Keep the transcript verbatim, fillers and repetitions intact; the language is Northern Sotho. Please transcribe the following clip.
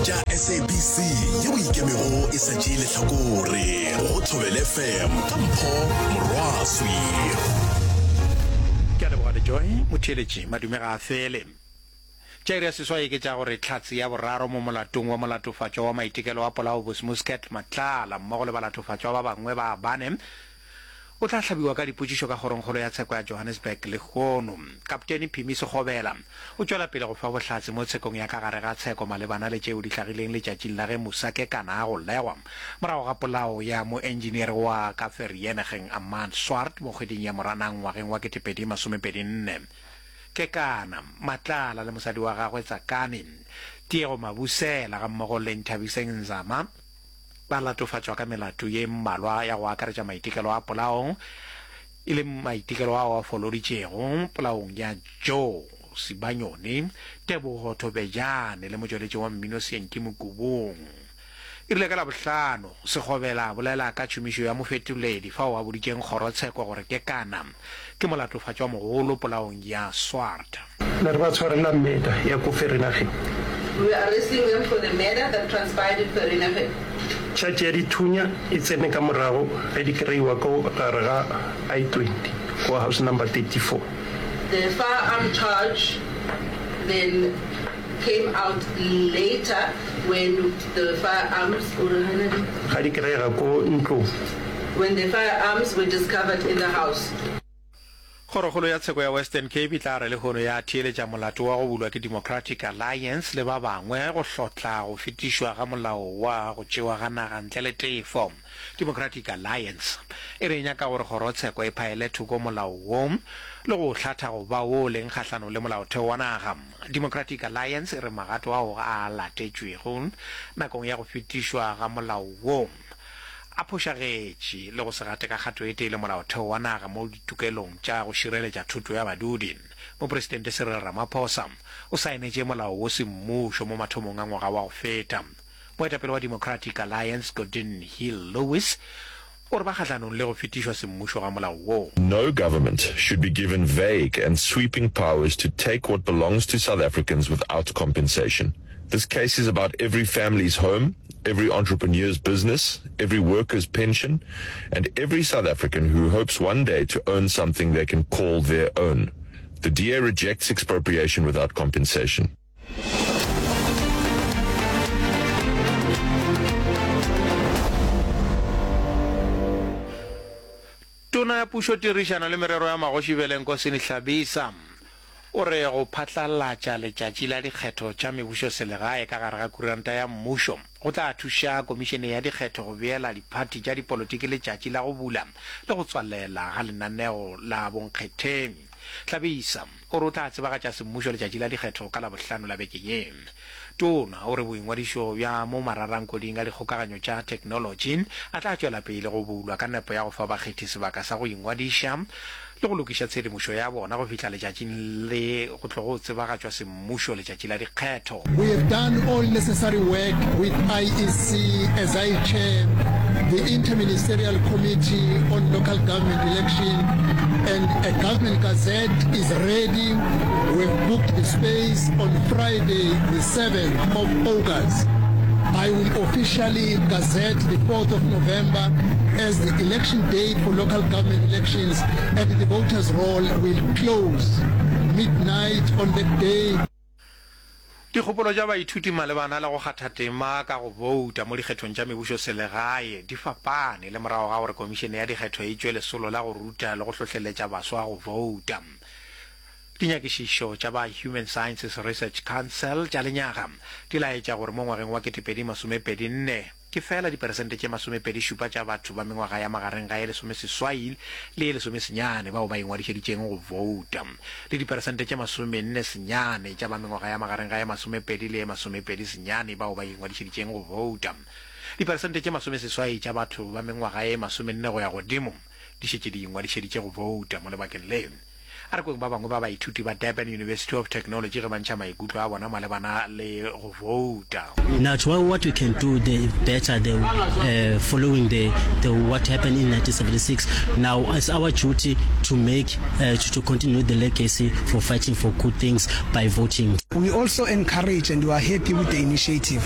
tša S A B C yeo ikemego e sa tšee lehlakore go Thobela F M ka Mpho Morwaswi. Ke a leboga Lejoy motheeletši. Madume ga a fele. Tša iri ya seswai ke tša gore hlatse ya boraro mo molatong wa molatofatšwa wa maitekelo a polao Bosmuscat Matlala mmogo le balatofatšwa ba bangwe ba bane o tla hlabiwa ka dipotšišo ka kgorongkgolo ya tsheko ya Johannesburg lehono. Kaptene Phimi Sekgobela o tšwela pele go fa bohlatse mo tshekong ya ka gare ga tsheko malebana le tšeo di hlagileng letšatšing la ge Musa Kekana a golegwa morago ga polao ya moenjiniere wa ka Vereeniging Armand Swart mo kgweding ya Moranang ngwageng wa ketepedi masomepedi nne. Kekana, Matlala le mosadi wa gagwe Tsakani, Tiego Mabusela gammogo le Nthabiseng Nzama ba latofatšwa ka melato ye mmalwa ya go akaretša maitekelo a polao, e le maitekelo ao a foloditšego polaong ya Joe Sibanyoni, Tebogo Thobejane le motšweletši wa mmino Seanki Mokubung. E rile ka Labohlano, Sekgobela a bolela ka tšhomišo ya mofetoledi fao a boditšeng kgorotsheko gore Kekana ke molatofatšwa mogolo polaong ya Swart. Ne re ba tshwarela murder ya ko Vereeniging. We were arresting them for the murder that transpired in Vereeniging. Charge ya dithunya e tsene ka morago ge di kreiwa ko gare ga I twenty ko house number thirty four. The firearm charge then came out later when the firearms o re gana di. Ga di kreiga ko ntlong. When the firearms were discovered in the house. Kgorokgolo ya tsheko ya Western Cape e tla re lehono ya theeletša molato wa go bulwa ke Democratic Alliance le ba bangwe go hlotla go fetišwa ga molao wa go tšewa ga naga ntle le tefo. Democratic Alliance e re e nyaka gore kgorotsheko e phaele thoko molao wo le go o hlatha go ba wo o leng kgahlanong le molaotheo wa naga. Democratic Alliance e re magato ao a latetšwego nakong ya go fetišwa ga molao wo a phošagetše le go se gate ka kgato e tee le molaotheo wa naga mo ditokelong tša go šireletša thoto ya badudi. Mopresidente Cyril Ramaphosa o saenetše molao wo semmušo mo mathomong a ngwaga wa go feta. Moetapele wa Democratic Alliance Geordin Hill-Lewis o re ba kgahlanong le go fetišwa semmušo ga molao wo. No government should be given vague and sweeping powers to take what belongs to South Africans without compensation. This case is about every family's home, every entrepreneur's business, every worker's pension, and every South African who hopes one day to own something they can call their own. The D A rejects expropriation without compensation. Tona ya Pušo, Tirišano le Merero ya Magoši Velenkosini Hlabisa o re go phatlalatša letšatši la dikgetho tša mebušoselegae ka gare ga kuranta ya mmušo go tla thuša komišene ya dikgetho go beela diphathi tša dipolotiki letšatši la go bula le go tswalela ga lenaneo la bonkgetheng. Hlabisa o re o tla tsebagatša semmušo letšatši la dikgetho ka Labohlano la beke ye. Tona o re boingwadišo bja mo mararankoding a dikgokaganyo tša theknolotši a tla tšwela pele go bulwa ka nepo ya go fa bakgethi sebaka sa go ingwadiša le go lokiša tshedimošo ya bona go fihla letšatšing le go tlogo tsebagatšwa semmušo letšatši la dikgetho. We have done all necessary work with I E C as I chair the Interministerial Committee on Local Government Election, and a government gazette is ready. We've booked the space on Friday the seventh of August. I will officially gazette the fourth of November as the election date for local government elections, and the voters roll will close midnight on that day. Dikgopolo tša baithuti malebana le go kgatha tema ka go bouta mo dikgethong tša mebušoselegae di fapane le morago ga gore komišene ya dikgetho e tšwe lesolo la go ruta le go hlohleletša baswa go bouta. Dinyakišišo tša ba Human Sciences Research Council tša lenyaga di laetša gore mo ngwageng wa ketepedi masomepedi nne ke fela diperesente tše masomepedi šupa tša batho ba mengwaga ya magareng ga ye lesomeseswai le ye lesomesenyane bao ba ingwadišeditšeng go bouta, le diperesente tše masomenne senyane tša ba mengwaga ya magareng ga ye masomepedi le ye masomepedi senyane bao ba ingwadišeditšeng go bouta. Diperesente tše masomeseswai tša batho ba mengwaga ye masomenne go ya godimo di šetše di ingwadišeditše go bouta mo lebakeng le. A re kweng ba bangwe ba baithuti ba Durban University of Technology ge ba ntšha maikutlo a bona malebana le go vouta. Now what we can do the better the uh, following the, the what happened in nineteen seventy-six, now it's our duty to make uh, to, to continue the legacy for fighting for good things by voting. We also encourage and we are happy with the initiative